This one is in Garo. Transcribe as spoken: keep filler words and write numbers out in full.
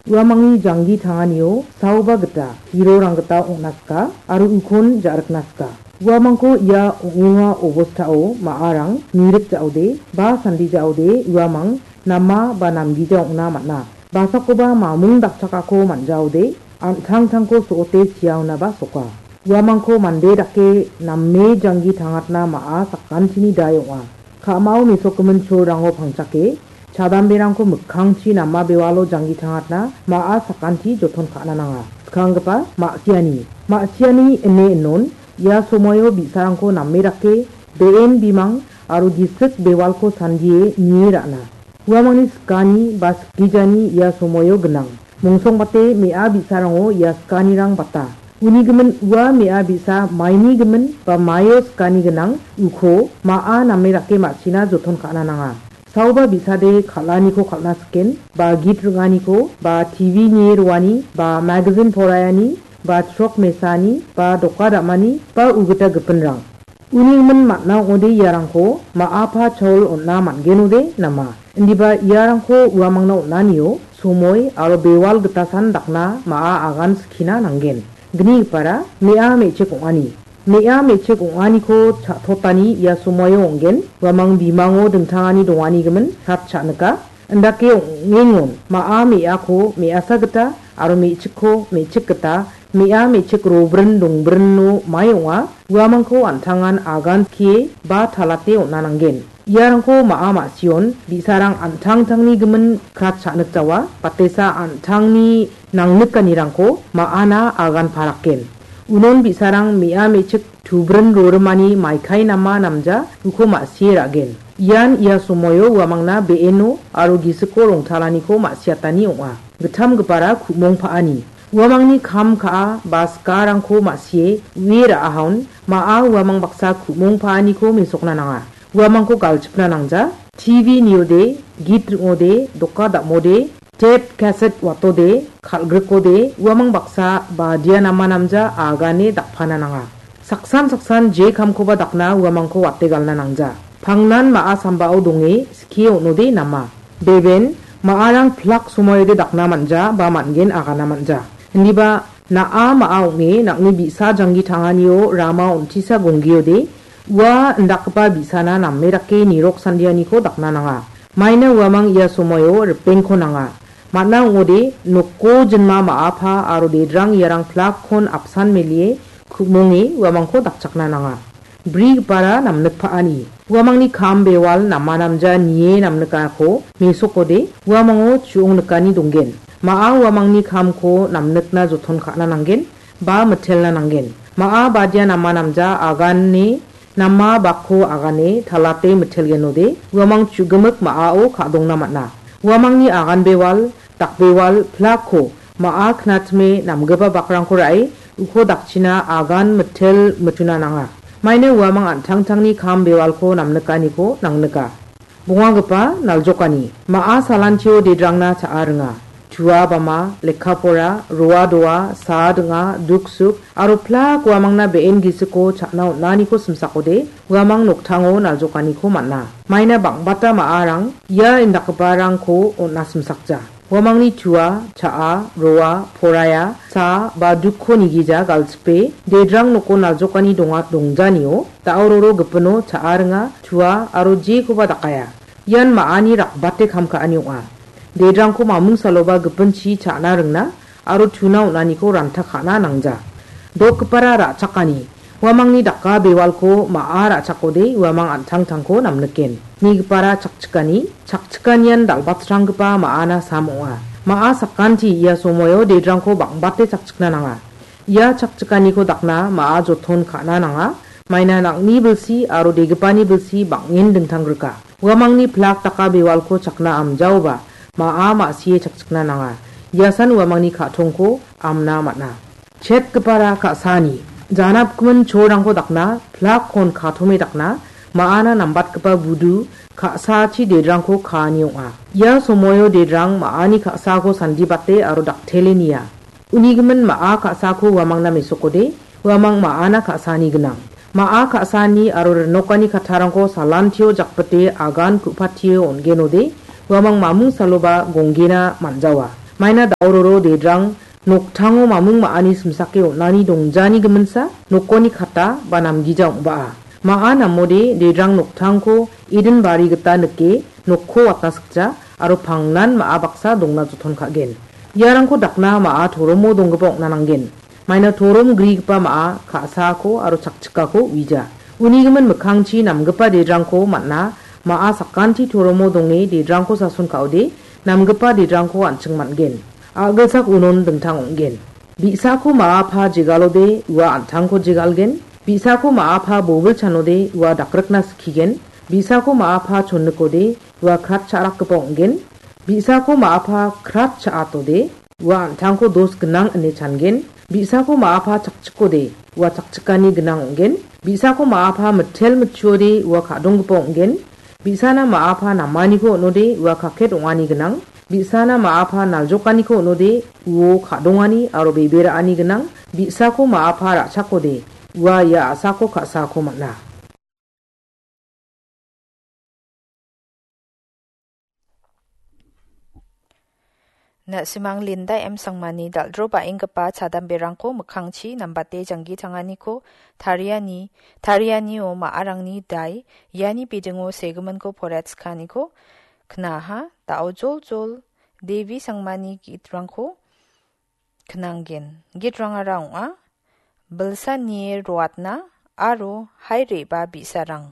Uamangni janggi tanganio saoba gita hirorang gita ong·na sika aro ukon ja·rikna sika. Uamangko ia ong·enga obostao ma·arang mirik ja·ode ba sandi ja·ode uamang nama ba namgija ong·na man·a. Basakoba mamung dakchakako man·jaode an·tangtangko so·ote siaonaba soka. Uamangko mande dake name janggi tangatna ma·a sakantini dai ong·a. Ka·mao mesokgimin cholrango pangchake, chadamberangko mikkangchi nama bewalo janggi tangatna ma·a sakanti joton ka·na nanga. Skanggipa ma·siani. Ma·siani ine inon, ia somoio bi·sarangko name dake, be·en bimang aro gisik bewalko sandie nie ra·na. Uamangni sikani ba sikgijani ia somoio gnang. Mongsongbate me·a bi·sarango ia sikanirang bata. Uni gimin ua me·a bi·sa maini gimin ba maio sikani gnang uko ma·a name dake ma·sina joton ka·na nanga. Saoba bi·sade kal·aniko kal·na siken, ba git ring·aniko, ba T V nie roani, ba magazin poraiani, ba chrok mesani, ba doka dam·ani, ba ugita gipinrang. Uni gimin man·a ong·ode iarangko ma·apa chaol on·na man·genode nama. Indiba iarangko uamangna on·anio somoi aro bewal gitasan dakna ma·a agan skina nanggen. Gnigipara me·a me·chik ong·ani. Me·a me·chik ong·aniko cha·totani ia somoio ong·gen. Uamang bimango dingtangani dongani gimin kat cha·nika. Indake ong·engon ma·a me·ako me·asa gita aro me·chikko me·chik gita me·a me·chik robrin dongbrinno mai ong·a. Uamangko an·tangan agan skie ba talate on·a nanggen. Iarangko ma·a ma·sion bi·sarang an·tangtangni gimin krat cha·nikjawa, batesa an·tangni nangnikanirangko ma·ana agan parakgen. Unon bi·sarang me·a me·chik tubrin rorimani maikai nama namja uko ma·sie ra·gen. Ian ia somoio uamangna be·eno aro gisiko rongtalaniko ma·siatani ong·a. Gittamgipara ku·mong pa·ani. Uamangni kam ka·a ba sikarangko ma·sie ue ra·ahaon ma·a uamang baksa ku·mong pa·aniko mesokna nanga. Uamangko galchipna nangja. T V niode, git ring·ode, doka dam·ode, tep kaset watode, kal·grikode, uamang baksa badia nama namja agane dakpana nanga. Saksan saksan je kamkoba dakna uamangko wate galna nangja. Pangnan ma·a sambao donge skie on·ode nama. Beben, ma·arang plak somoiode dakna man·ja ba man·gen agana man·ja. Indiba na·a ma·a ong·e nang·ni bi·sa janggi tanganio rama on·tisa gonggiode, ua indakgipa bi·sana name dake nirok sandianiko dakna nanga. Maina uamang ia somoio ripengko nanga. Man·a ong·ode, noko jinma ma·apa aro dedrang iarang plakkon apsan melie ku·monge uamangko dakchakna nanga. Brigipara namnikpa·ani. Uamangni kam bewal namanamja nie namnikako mesokode uamango chu·ong nikani donggen. Ma·a uamangni kamko namnikna joton ka·na nanggen ba mitelna nanggen. Ma·a badia namanamja agane nama bakko agane talate mitelgenode uamang chu·gimik ma·ao ka·dongna man·a. Uamangni agan bewal, dakbewal, plakko ma·a knatime namgipa bakrangko ra·e uko dakchina agan mitel mituna nanga. Maina uamang an·tangtangni kam bewalko namnikaniko nangnika. Bongagipa naljokani, ma·a salantio dedrangna cha·a ringa. Tua bama, lekka pora, roa doa, saa ding·a, duksuk, aro plak uamangna be·en gisiko cha·na on·aniko simsakode, uamang noktango naljokaniko man·a. Maina bang·bata ma·arang ia indakgiparangko on·a simsakja. Uamangni tua, cha·a, roa, poraiya, saa, ba dukko nigija galchipe, dedrang noko naljokani donga dongjanio, da·o roro gipino cha·a ringa, tua, aro jekoba dakaia. Ian ma·ani rakbate kam ka·ani ong·a. Dedrangko mamung saloba gipinchi cha·na ringna, aro tuna on·aniko ranta ka·na nangja. Dokgipara ra·chakani, uamangni daka bewalko ma·a ra·chakode uamang an·tangtangko namniken. Nigipara chakchikani, chakchikanian dal·batranggipa ma·ana sam ong·a. Ma·a sakanti ia somoio dedrangko bang·bate chakchikna nanga. Ia chakchikaniko dakna ma·a joton ka·na nanga. Maina nang·ni bilsi aro degipani bilsi bang·en dingtanggrika. Uamangni plak daka bewalko chakna amjaoba, ma·a ma·sie chakchikna nanga. Iasan uamangni ka·tongko amna man·a. Chetgipara ka·sani, janapgimin cholrangko dakna, plakkon katome dakna, ma·ana nambatgipa budu, ka·sachi dedrangko kaani ong·a. Ia somoio dedrang ma·ani ka·sako sandibate aro daktele nia. Unigimin ma·a ka·sako uamangna mesokode, uamang ma·ana ka·sani gnang. Ma·a ka·sani aro rinokani kattarangko salantio jakbite agan ku·patio on·genode, uamang mamung saloba gonggena man·jawa. Maina daororo dedrang noktango mamung ma·ani simsake on·ani dongjani giminsa nokoni kata ba namgija ong·baa. Ma·a namode dedrang noktrangko Eden bari gita nike nokko watna sikja aro pangnan ma·a baksa dongna joton ka·gen. Iarangko dakna ma·a toromo donggipa ong·na nanggen. Maina torom grigipa ma·a ka·saako aro chakchikako uija. Uni gimin mikkangchi namgipa dedrangko man·a, ma·a sakanti toromo donge dedrangko sason ka·ode, namgipa dedrangko an·ching man·gen. A·gilsak unon dingtang ong·gen. Bi·sako ma·a pa jegalode ua an·tangko jegalgen. Bi·sako ma·a pa bobil chanode ua dakrikna skigen. Bi·sako ma·a pa chonnikode ua krat cha·rakgipa ong·gen. Bi·sako ma·a pa krat cha·atode ua an·tangko dos gnang ine changen. Bi·sako ma·a pa chakchikode ua chakchikani gnang ong·gen. Bi·sako ma·a pa mitel mitchuode ua ka·donggipa ong·gen. Bi·sana ma·a pa namaniko on·ode ua kaket ong·ani gnang. Bi·sana ma·a pa naljokaniko on·ode uo ka·dongani aro bebe ra·ani gnang. Bi·sako ma·a pa ra·chakode ua ia a·sako ka·sako man·a. Na·simang Linda M Sangmani dal·dro ba·enggipa chadamberangko mikkangchi nambate janggi tanganiko tariani, tarianio ma·arangni dai, iani bidingo segiminko poratskaniko knaha, da·o joljol Devi Sangmani gitrangko knanggen. Gitrangara ong·a, Bilsanie roatna aro hai re·ba bi·sarang.